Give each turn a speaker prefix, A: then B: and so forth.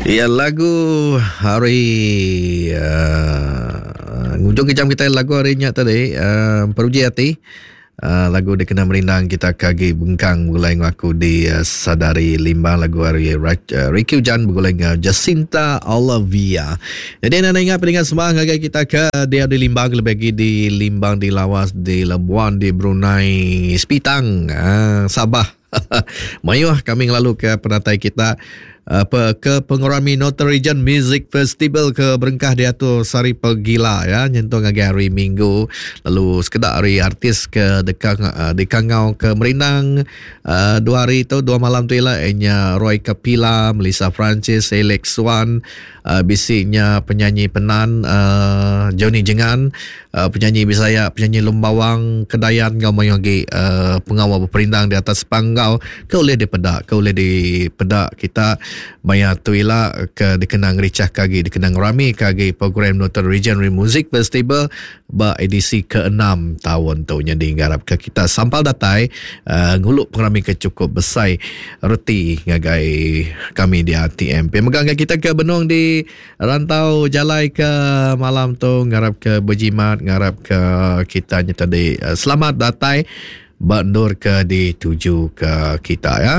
A: Ya lagu hari uh, ngujung ke jam kita lagu hari nya tadi uh, peruji hati uh, lagu dikena merindang kita ke agi bengkang begulai enggau aku di uh, Sadari Limbang lagu hari uh, Ricky Ujan begulai enggau Jacinta Olivia. Jadi anda ingat peningat semua ngagai kita ke dia di Limbang lebih lagi di Limbang di Lawas di Labuan di Brunei Sepitang uh, Sabah Mayuh kami ngelalu ke penatai kita uh, ke pengerami Northern Region Music Festival ke berengkah diatur sehari pegila ya nyentuk ngagai hari Minggu lalu sekeda ari artis ke deka uh, dikangau ke merindang uh, dua hari tu dua malam tu ila inya Roy Kapila, Melissa Francis, Alex Swan, uh, bisi nya penyanyi Penan uh, Johnny Jengan Penyanyi Bisaya, penyanyi Lembawang, Kedayan enggau mayuh agi pengawa beperindang di atas panggau ke ulih dipeda, ke ulih dipeda kita maya tu ila ke dikena ngerichahka agi, dikena ngeramika agi program Northern Region Music Festival ba edisi keenam taun tu. Nyadi ngarapka kita sampal datai ngulu pengerami ke chukup besai reti ngagai kami di RTM. Pia mega ngagai kita ke benung di Rantau jalai ke malam tu ngarap ke bejimat ngarap ke kita nya tadi eh, selamat datai ba endur ke dituju ke kita ya.